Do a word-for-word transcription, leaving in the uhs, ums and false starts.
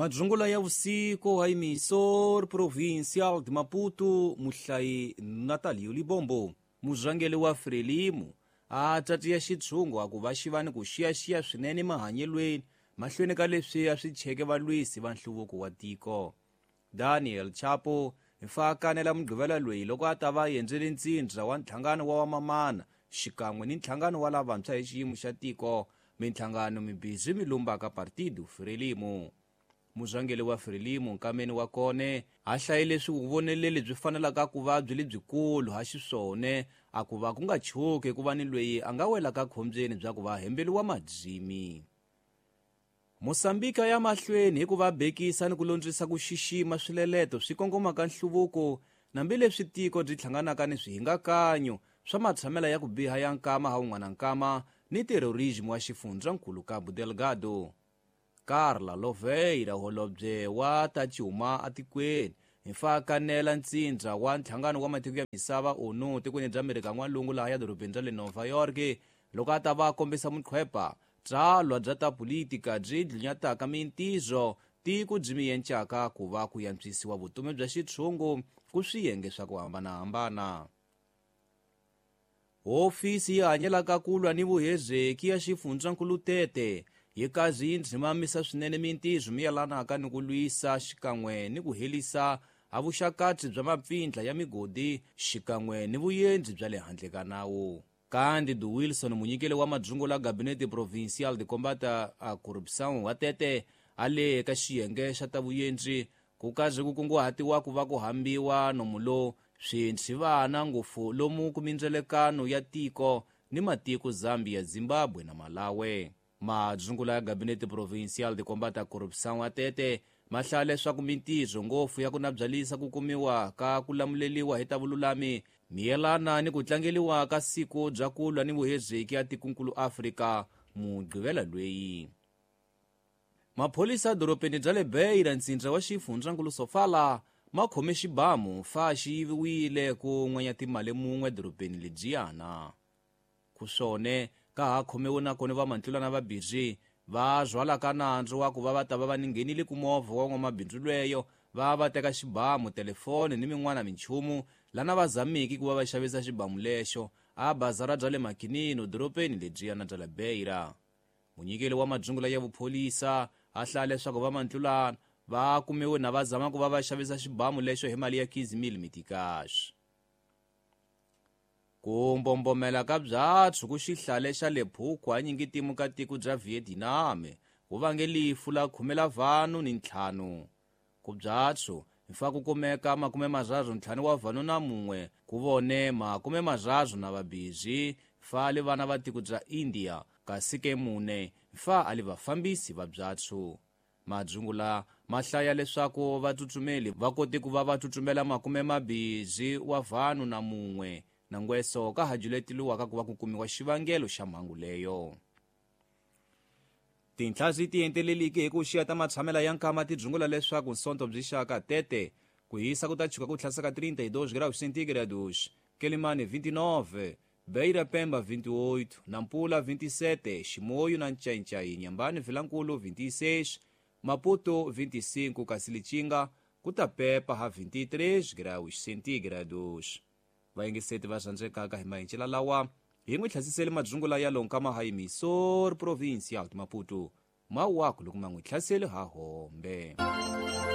Madzungula ya vusiku ha emissor provincial de Maputo muhlayi Natalio Libombo muzvangeli wa Frelimo a tatiya xitshungu a ku va xivani ku xiyaxiya swinene mahanyelweni mahlweni ka leswi a swi cheke valwisi va nhluvuko wa tiko. Daniel Chapo hi kanela mugqivela loyi loko a ta va endzele ntsindza wa nhlangano wa vamamana xikan'we ni nhlangano wa lavantshwa hi xiyimo xa tiko minhlangano mibirhi mi lumbaka Partido Frelimo. Muzvangeli wa Frelimo nkameni wa kone a hlaye leswi vuvoneleli byi fanelaka ku va byi lebyikulu ha xiswone a ku va ku nga chuki ku va ni loyi a nga welaka khombyeni bya ku va hembeliwa madzimi. Mosambika ya mahlweni hi ku va bekisa ni ku londzisa ku xixima swileleto swi kongomaka nhluvuko nambileswi tiko byi hlanganaka ni swihingakanyo swa matshamela ya ku biha ya nkama ha wun'wana nkama ni terrorism wa xifundzankulu Cabo Delgado. Carla Loveira holobye wa ta cuma atikweni hi fa kanela ntsindza wa nhlangano wa matiko ya misava O N U tikweni bya Amerika n'walungu laha ya dorobeni ra le Nova York loko a ta va kombisa muqhwepa tsalwa bya ta politika byi dlunyataka mintizo tiko byi miyencaka ku va ku yantswisiwa vutomi bya xitshungu ku swiyenge swa ku hambanahambana. Hofisi yi hanyelaka ku lwa ni vuhezeki ya xifundzankulu Tete yi kazi yi ndzimamisa swinene mintizo mi yelanaka ni ku lwisa xikan'we ni ku helisa ha vuxakatsi bya mapfindla ya migodi xikan'we ni vuyendzi bya le handle ka nawu. Cândido Wilson munyikeli wa madzungu la Gabinete Provincial de Combate à Corrupção wa Tete a le ka xiyenge xa ta vuyendzi ku kazi ku kunguhatiwa ku va ku hambiwa nomu lo swintshivana ngopfu lomu ku mindzelekano ya tiko ni matiko Zambia, Zimbabwe na Malawi. Madzungula ya Gabinete Provincial de Combate à Corrupção wa Tete ma hlaya leswaku mintirho ngopfu ya ku nabyalisa ku kumiwa ka ku lamuleliwa hi ta vululami miyelana ni ku tlangeliwa ka siku bya ku lwa ni vuhezeki ya tikunkulu Afrika mugqivela lweyi. Mapholisa dorobeni bya le Beira ntsindza wa xifundzankulu Sofala ma khome xibamu fa xi yiviwile ku n'wenya timali mun'we dorobeni lebyiyana. Ku swone ka ha khomiwe nakona vamantlulana va biri va zwalaka nandzu wa ku va va ta va va ninghenile ku movha wa n'wamabindzu lweyo va va teka xibamu telefoni ni min'wana minchumu lana va zamiki ku va va xavisa xibamu lexo a bazara bya le Makinino dorobeni lebyiyana bya le Beira. Munyikeli wa madzungula ya vupholisa a hlaya leswaku vamantlulana va kumiwe na va zama ku va va xavisa xibamu lexo hi mali ya quinze mil mitikash. Ku mbombomela ka byatsu ku xihlale xa le Phukwa nyingitimu ka tiko bya Vietnam ku vange lifu la khume la vanhu ni ntlhanu. Ku byatsu hi fa ku kumeka makume marharhu ntlhanu wa vanhu na mun'we ku vone makume marharhu na vabirhi fa li vana va tiko bya India kasi ke mune fa a li vafambisi va byatsu. Madzungula ma hlaya leswaku vatsutsumeli va kote ku va va tsutsumela makume mabirhi wa vanhu na mun'we na ngweso ka ha juleteliwaka ku va ku kumiwa xivangelo xa mhangu leyo. Tinhla byi tienteleliki hi ku xiya ta matshamela ya nkama ti dzungula leswaku nsonto byi xaka Tete ku hisa ku ta chuka ku tlhasaka trinta e dois graus centígrados, Quelimane vinte e nove, Beira Pemba vinte e oito, Nampula vinte e sete, Chimoio na Nchainchai, Inhambane Vilankulo vinte e seis, Maputo vinte e cinco, kasi Lichinga ku ta pepa ha vinte e três graus centígrados. Vayingiseti va rhandzekaka hi mahencela lawa hi n'wi tlhasisele madzungula ya lonkama ha emissor provincial de Maputo mawaku loko ma n'wi tlhasele ha hombe.